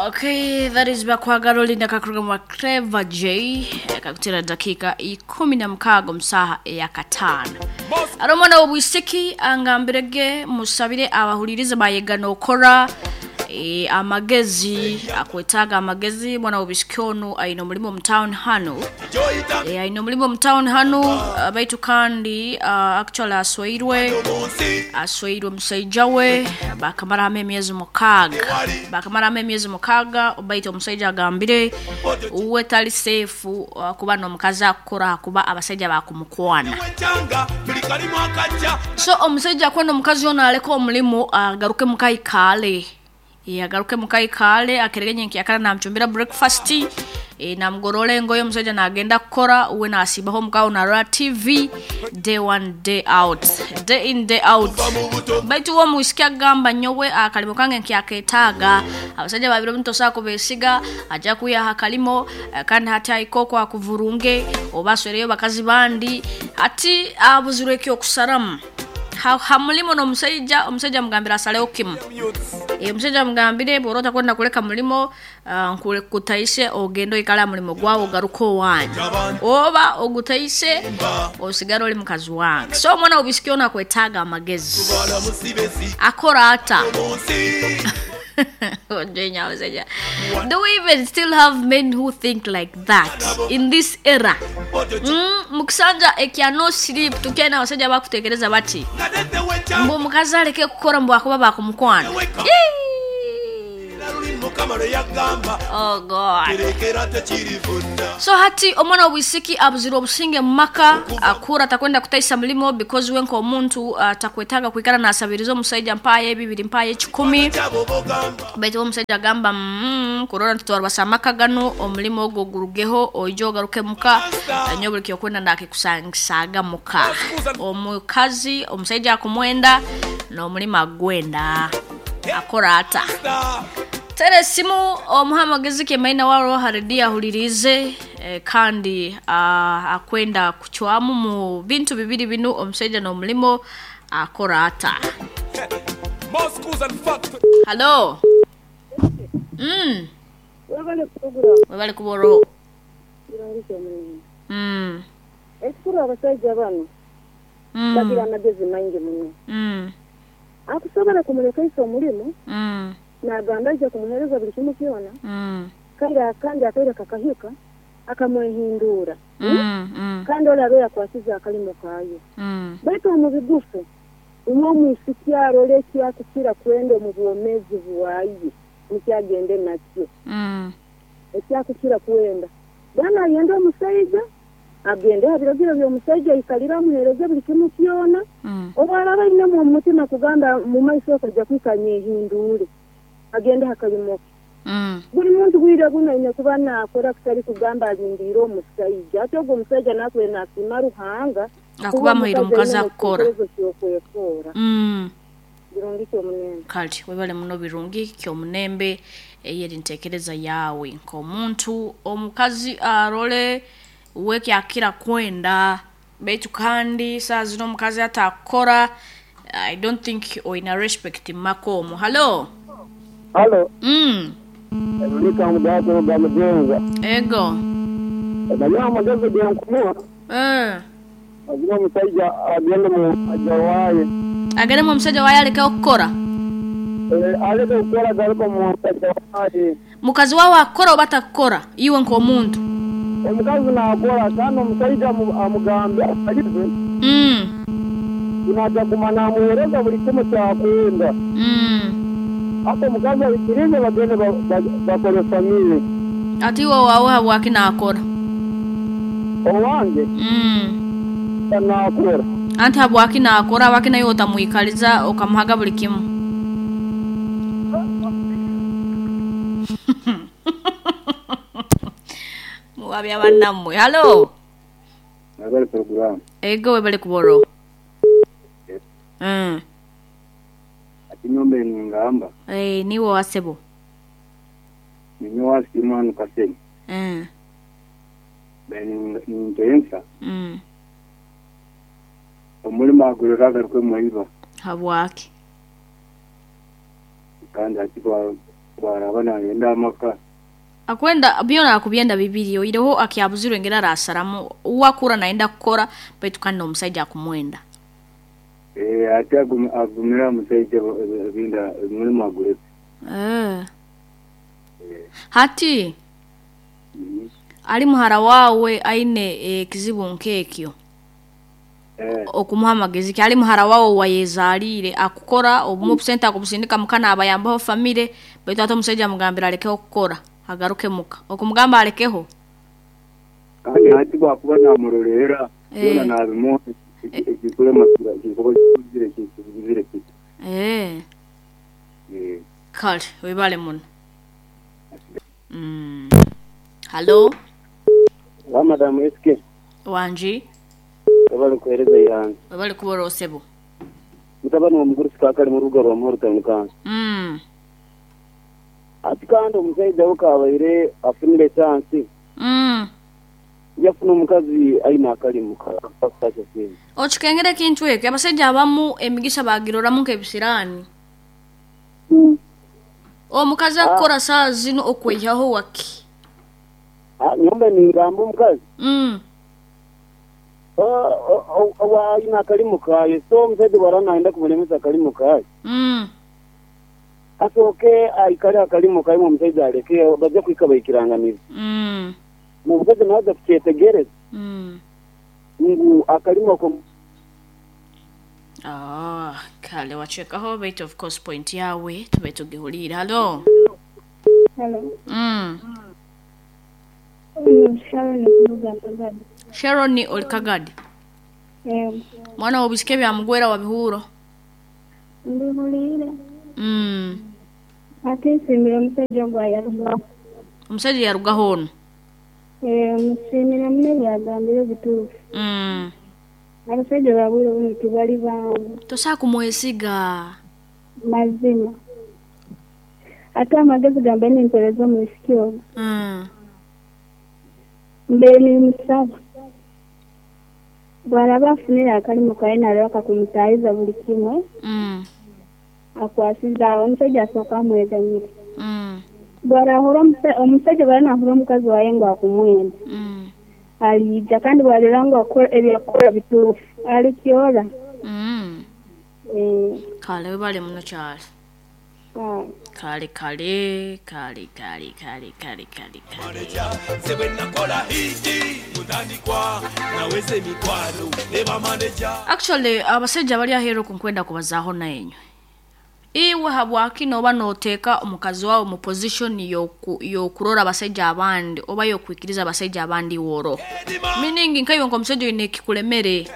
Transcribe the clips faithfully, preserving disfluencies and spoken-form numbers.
Okay, that is Bakwagala Olinda kakuruga Clever J kakutera dakika ikumi na mukaaga omusaha eyakataano. Ari omwana w'obwisiki angambirege musabire abahulirize bayega nokora e, amagezi akwetaaga amagezi. Mwana w'obwisiki onu aine omulimu omu town hanu, e, aine omulimu omu town hanu, uh, baitu kandi uh, actually asweirwe asweirwe omusaija we bakamaramu emyezi mukaaga bakamaramu emyezi mukaaga baitu omusaija agambire uwe tali safe uh, kuba n'omukazi akukora kuba abasaija bakumukwana. So omusaija akwenda omukazi ono aleke omulimu agaruke mukaikaale, agaruke mukaikaale akeregenye nkyakara namucumbira breakfast, e, namugorora engoye. Omusaija nagenda kukora, uwe nasiibaho omukawo narora T V day one day out, day in day out. Baitu uwe omwisiki agamba, nyowe akalimo kange nkyaketaaga, abasajja babiri omutosobola kubesiga, ajja kwihaho akalimo, eh, kandi hati ahika okwo akuvurunge oba aswereyo bakazi bandi. Hati abuzirwe ekyokusaramu ha, ha mulimo n'omusaija. Omusaija amugambire asaleho kimu. E, omusaija amugambire, bw'oba otakwenda kuleka mulimo, uh, nkutaise ogende oikale aha mulimo gwawe ogaruke owanyu, oba ogutaise osigare oli mukazi wange. So omwana w'obwisiki ono akwetaaga amagezi, akora ata? Omusajja, do we even still have men who think like that in this era? mm, mukisanja ekya no sleep tukyalina abasajja bakutekereza bati mbu omukazi aleke kukora mbu akuba bakumukwana? Yee! Oh God. So hati omwana w'obwisiki abuzire obusinge mu maka, akura atakwenda kutaisa mulimo because we nk'omuntu atakwetaaga kwikara nasabiriza omusaija, mpayo ebibiri, mpayo ekikumi. Baitu omusaija agamba, mm, kurora ntitwarubasa amaka gano, omulimo ogwo gurugeho oije ogaruke muka, nyowe buli kyokwenda ndakikusangisaaga muka. Omukazi omusaija akumwenda n'omulimo agwenda, akora ata? Tera esimu omuha amagezi kemaina waro haredi ahulirize, eh, kandi ah, akwenda kucwamu mu bintu bibiri binu, omusaija n'omulimo, akora ata? Halo. mm. Webale program. Webale kuboro. Kirungi kyomulimu. mm. Ekikuru abasajja bano mm. bagira amagezi maingi muno. mm. Akusobola kumulekaisa omulimu mm. nagamba aija kumuheereza buli kimu kyona, mm. kandi kandi akaire kakahika akamwehindura, mm. mm. kandi olabe yakwasize akalimo kaayo. mm. Baitu omu bigufu umwe omwisiki arole ekyakukira kwenda omu bwomeezi bwaye nikyagende nakyo. mm. Ekyakukira kwenda bwana ayenda omusaija agende aha biragiro by'omusaija aikalire amuheereze buli kimu kyona. mm. Oba araba ainemu omu mutima kugamba mu maiso akajja kwika nyehindure agende aha kalimo ke. mm. Buli muntu bwire buno aine kuba naakora kutali kugamba alindiire omusaija. Ate ogwo omusaija naakwe nasiima Ruhanga akuba amuhaire omukazi aine akukora. ekiteekerezo ky'okwekoora. mm. Birungi kyomunembe. Kale webale muno, birungi kyomunembe. Eyeri ntekereza yawe nk'omuntu. Omukazi arole wekyakira kwenda, baitu kandi saa zino omukazi atakukora, I don't think oina respect mumaka omwo. Halo. Halo, mm. Rulika mugato gwa mugenza. Ego. Naye amagezi genkumuha, eh. agira omusajja agende mu musajja waaye. Ageremu omusajja waye alekeho kukora? Eh, aleke kukora garuka mu musajja waaye. Mukazi wawe akukora oba atakukora, iwe nk'omuntu? Omukazi naakora kandi omusajja amu- amugambe akalize mm. naja guma namuheereza buli kimu kyakwenda. mm. Ate omukazi aikirize bagende ba- ba- bakole family. Ati iwe wawe habwaki nakora? Owange mm. naakora. Anti habwaki nakora? Habwaki naye otamwikaliza okamuhaga buli kimu? Muwabya bannammwe. Halo. Nabali program. Ego, webale kuboro. mm. Ati nyombe ningamba Eh, niwe wasebo. ninyo wasimanu kaseni. mm. Nintensa mm. omulimo agurira agaruke mwiba. Habwaki? Kandi ati ba Bwaraba nayenda amaka. Akwenda byona akubyenda bibiri oireho akyabuzirwe ngera arasaramu uwakura naenda kukora baitu kandi omusajja akumwenda. Eh ate agumira omusajja ebinda mulimu agureke. Eh. Hati mm -hmm. Ali muhara wawe aine ekizibu e, nkekyo. Eh. Okumuha amagezi ki ali muhara wawe wayezalire akukora obumu busenta akubusindika mukana abayambaho famire baitu ate omusajja amugambira alekeho kukora agaruke muka okumugamba alekeho kandi hati bwakuba namurorera yona nabimuha ekikulema kikobo kizire kizire kiti eh eh kale webale muno. Mm. Hello wa madam S K wanji wabali kuhereza yange wabali kubora osebo mutabani wa muguru sikakali mu rugo rwa muhoro tanukanza mm ati kandi omusajja ukabaire afunire chance mm yafuna omukazi aina akalimu kakasha sente okikengere kintu ekyo abasajja abamu emigisha bagiroramu nk'ebisirani mm. Omukazi akora saa zino okweyaho waki ah nyomba ningamba omukazi mm owa aina akalimu kaye so omusajja warana aenda kumulemesa akalimu kaye mm asoke aikale akalimu kaye omusajja aleke bajja kwika bayikiranganiza mm omukazi naza kukyetegereza mm ngu akalimu ako ah kale wachekaho bait of course point yawe tube tugihulira. Hello hello mm Sharon Kagadi. Sharon oli Kagadi. Eh mwana obisike bya mugwera wa bihuro ndihulire mm ate nsimira omusajja gwa yarugaho omusajja yarugaho ono eh musimira munene yagambire bituufu mm abasajja babwire buno tibali bangu tosobola kumwesiga mazima ate amagezi gambe nimpereza omwisiki ogwo mm mbe nimusaba bwaraba afunire akalimu kaye nalaba kakumutaayiza buli kimwe mm akwasiza awo omusajja asooka amweganyire mm bwarahura omusajja bwaranahura omukazi waye ngu akumwenda mm alija kandi bwarira ngu akora ebyakora bituufu alikyora mm eh kale webale muno kyali ah kale kale kale kale kale kale kale kale actually abasajja bali ahero kunkwenda kubazaaho nayenywe iwe habwaki noba noteeka omukazi wawe mu position yoku yokurora abasajja abandi oba yokwikiriza abasajja abandi woro meaning nkaiwe nk'omusajja oyine ekikulemere.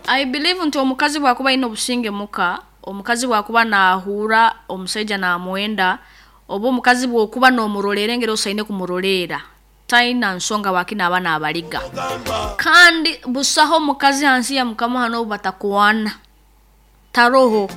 I believe nti omukazi bwakuba ayine obusinge muka omukazi bwakuba naahura omusajja namwenda oba omukazi bwokuba n'omurolera engeri osaine kumurolera taina nsonga waki naaba naabaliga kandi busaho omukazi hansi ya mukama hano batakuwana taroho.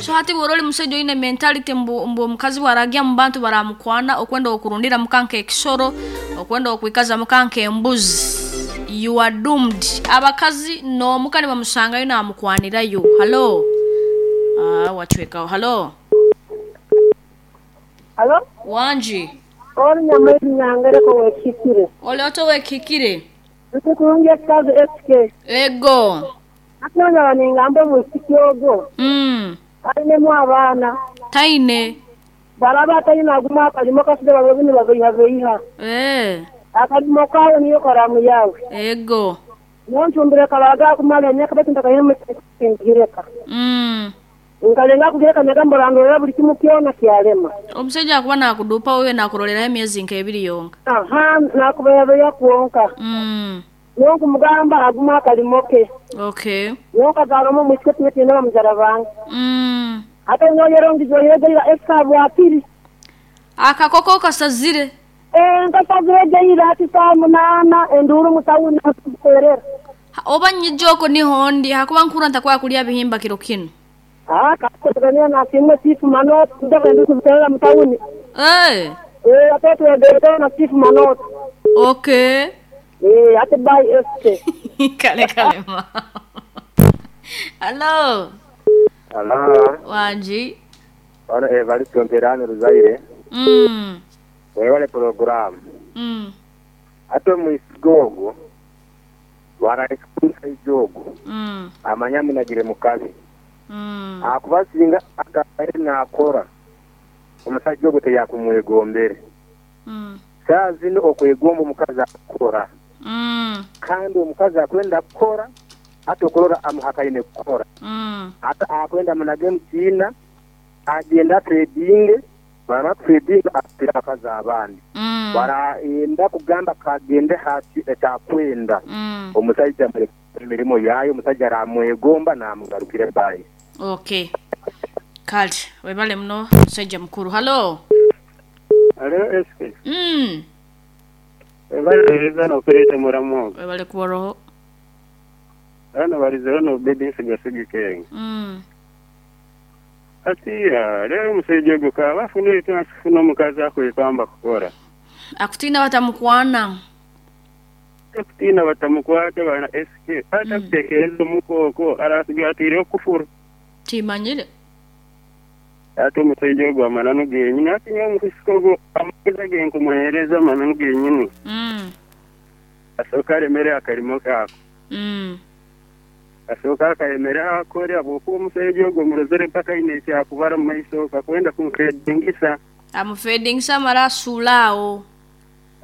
So hati bworoli musajja oyine mentality mbu, mbu omukazi bwaragya mu bantu baramukwana okwenda okurundira mukanka ekisoro okwenda okwikaza mukanka embuzi you are doomed. Abakazi n'omuka ne bamusangayo namukwanirayo. Hello ah wachwekaho. Hello hello wanji oli nyamairi nyangereko wekikire oli oto wekikire ntukurungi ekazi S K ego atonyola ningamba omwisiki ogwo mm alinemu abaana taine baraba atayina aguma akalimo kasije babebini babeiha beiha eh akalimo kawe niyo karamu yawe ego nontumbire kalaga akumala emyaka baitu ntakayina mm nkalenga kugireka nagamba randorera buli kimu kyona kyalema omusajja akuba nakudupa wewe nakuroleraho emyezi nk'ebiri yonka aha nakubeyabeya kwonka mm nonkumugamba aguma akalimo ke okay nonkazaalamu omwisiki kimwe kiine bamuzara bange mm ate noyerongizoyegeira esika bwapiri akakoko kasazire eh nkasazire geira ati saa munaana enduuru mutawuni kuterera oba nyijoko niho ndi hakuba nkura ntakwaya kulya bihimba kiro kino ah kakotegania na simwe chifu manot ndaka ndu kuterera mutawuni eh eh ate tuendelea na chifu manot okay eh ate bye S K kale kale ma hello hello wanji Bano Evaristo Mperano Ruzaire. Mm. Webale program. Mm. Ate omwisiga ogwo waraikumusaiza ogwo Mm. amanya munagire mukazi. Mm. Akuba singa akabaire nakora omusajja ogwo teyakumwegombere. Mm. Saa zino okwegomba omukazi akukora. Mm. Kandi omukazi akwenda kukora ate okurora amuhakaine kukora. Mm. Ate akwenda munage mukiina agenda trading bamara trading atira abakazi abandi. Mm. Barayenda kugamba kagende hati ekyakwenda. Mm. Omusajja amureke emirimo yayo omusajja aramwegomba namugarukire bayi. Okay. Kale, webale muno musajja mukuru. Halo. Alo S K. Mm. Webale nokureta muramu. Webale kuboroho. Hano barizeho no baby nsigasigi kenge. Mm. Atiya, rero omusajja ogwo kaba afuna afuna omukazi akwekamba kukora. Akutina batamukwana. Akutina batamukwata bana S K. Ata kutekereza omukoko arasiga atire okufuru. Timanyire. Ate omusajja ogwo amananu genyini ati nyowe omukusika ogwo amagezi ge nkumuheereza amananu genyini. Mm. Asooka aremere akarimo kaako. Mm. Asooka akayemera akore habwokuba omusajja ogwo murozere mpaka aine ekyakubara mu maiso kakwenda kumufedingisa. Amufedingisa amara asuula awo.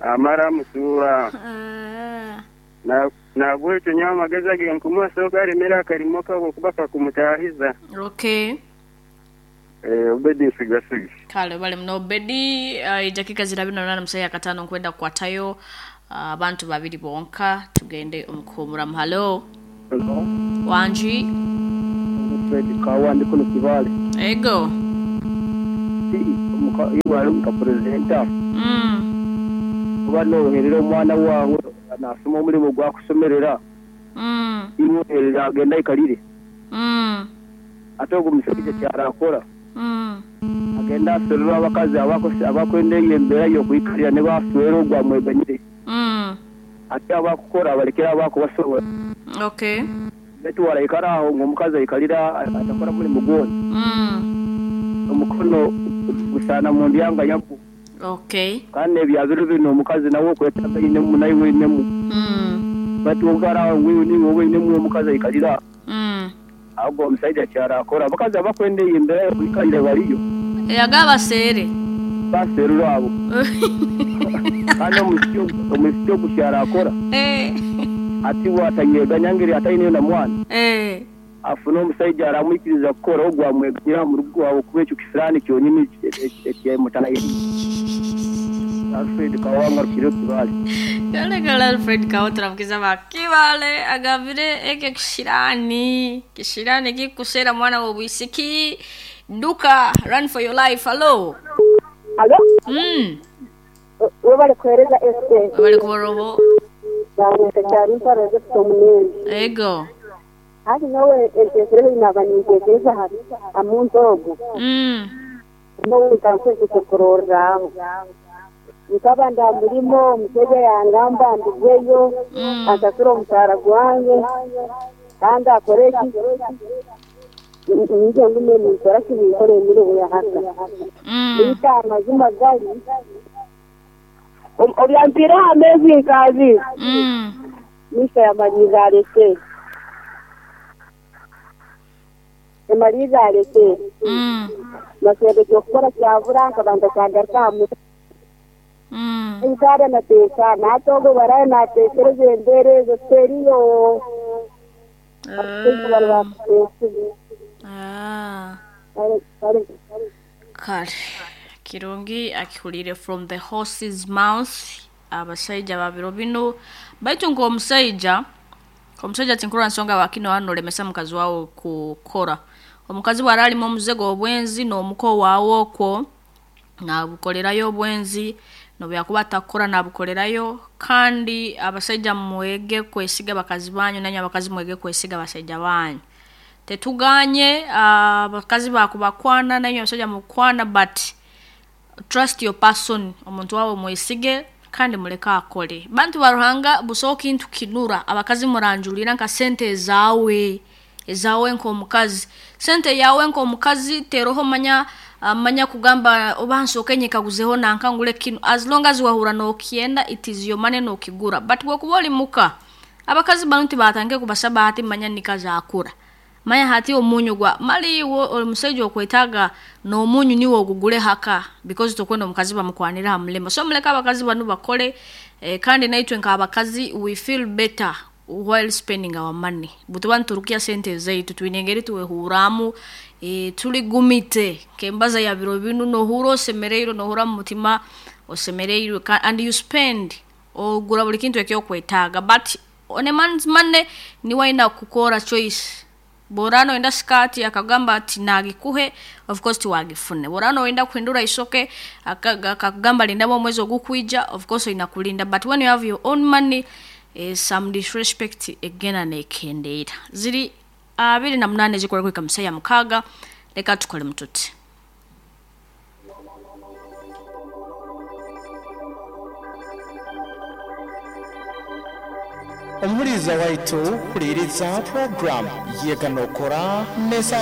Amara amusuula. Ah. Na nabwekyo nyowe amagezi age nkumuha asooka aremere akarimo kaako kuba kakumutaahiza. Okay. Eh, Obedi nsigasigi. Kale bale muno Obedi, uh, dakika zirabiri na munana musaya katano nkwenda kukwatayo abantu uh, babiri bonka tugende omukuhumuramu. Halo. Hello. Wanji. Fred Kawa ndi kuno Kibale. Ego. Si omuka iwali omuka presenter. Mm. Oba noherera omwana wawe nasoma omulimu gwakusomerera. Mm. Imuherera agenda ikalire. Mm. Ate ogwo musajja kyarakora. Mm. Agenda aserera abakazi abakose abakwenda embeera y'okwikalira ne baswera ogwamweganyire. Mm. Ate abakukora abalekera abakubasobola. Okay. Betu waraikara aho ng'omukazi aikalira atakora mulimu gwona. Mm. Omukono gusana mu ndyanga yaku. Okay. Kandi ebyabiro bino omukazi nawe okwetaaga inemu naye inemu. Mm. Batu okara aho ngwiwe niwe wowe inemu omukazi aikalira. Mm. Ahubwo omusajja kyarakora abakazi abakwenda embeera y'okwikalira bariyo. Eyagaba seere. Baserura abo. Kandi omusiki omusiki ogukyarakora. Eh. Ati watanyeganya ngeri ataine na mwana. Eh. Afuna omusajja aramwikiriza kukora ogwo amweganyira mu rugo aho kuba ekyo kisirani kyonyini ekyemutana. Alfred Kawanga kiro Kibale. Yale Alfred Kawotra mkiza ba Kibale agavire eke kishirani. Kishirani kikusera mwana wa bwisiki. Duka run for your life. Hello. Hello. Mm. Webale kuhereza S K. Webale kuboroho. Ego. Hadi nawe entekereza inaba nintekereza hari amuntu ogwo. Mm. Nawe ntankwese kurorra. Nkaba ndamulimo omusajja yangamba ndigweyo mm. Asasura omusaara gwange kandi akore ki nje ngume ninkora ki ninkora emirimo ya haka. Bita amazima gali obyampira amezi nkazi. Mm. Misa yamaliza aleke. Yamaliza aleke. Mm. Nasebe kyokukora kyabura nkabanda kyagaruka mu. Mm. Nkara nateeka natogo baraye nateekereza embeera ezo teriyo. Ah. Kale. Kirungi akihulire from the horse's mouth. Abasajja babiro bino baitu ng'omusajja omusajja tinkura nsonga bakino hano lemesa mukazi wawe kukora omukazi bw'aralimu omuzego obwenzi n'omuko waawe okwo nabukolerayo obwenzi nobyakuba atakora nabukolerayo. Kandi abasajja mwege kwesiga bakazi banyu nanyu abakazi mwege kwesiga abasajja banyu. Tetuganye abakazi bakubakwana nanyu abasajja mukwana, but trust your person, omuntu wawe mwesige kandi muleka akole. Bantu baruhanga busoka intu kinura abakazi muranjulira nka sente zawe ezawe nko omukazi sente yawe nko omukazi teroho manya Manya kugamba oba nsooke nyekaguzeho nanka ngule kinu. As long as wahura nokyenda, it is your money, nokigura. But bwokuba oli muka, abakazi banu tibatange kubasaba hati manya nikazakura manya hati omunyu gwa mali wo omusajja okwetaaga n'omunyu niwe ogugule haka, because tokwenda omukazi bamukwanira ha mulema. So muleke abakazi banu bakole. Eh, kandi naitwe nk'abakazi we feel better while spending our money. Butuba niturukia sente zaitu, twine engeri tuwehuramu, eh, tuli gumite kembaza ya biro binu, nohura osemereirwe, nohura mu mutima osemereirwe, ka- and you spend, ogura buli kintu ekyokwetaaga. But on a man's money niwe aina kukora choice. Borano enda skati, akagamba ati nagikuhe, of course tiwagifune. Borano enda kuhindura isoke, aka- akakugamba lindamu omwezi ogukwija, of course inakulinda. But when you have your own money, eh, some disrespect egenda nekendeera. Ziri abiri na munane zikora kuhika musaya mukaaga. Leka tukole mututi. Omuhuriza waitu, huliriza program yeganokora nesa.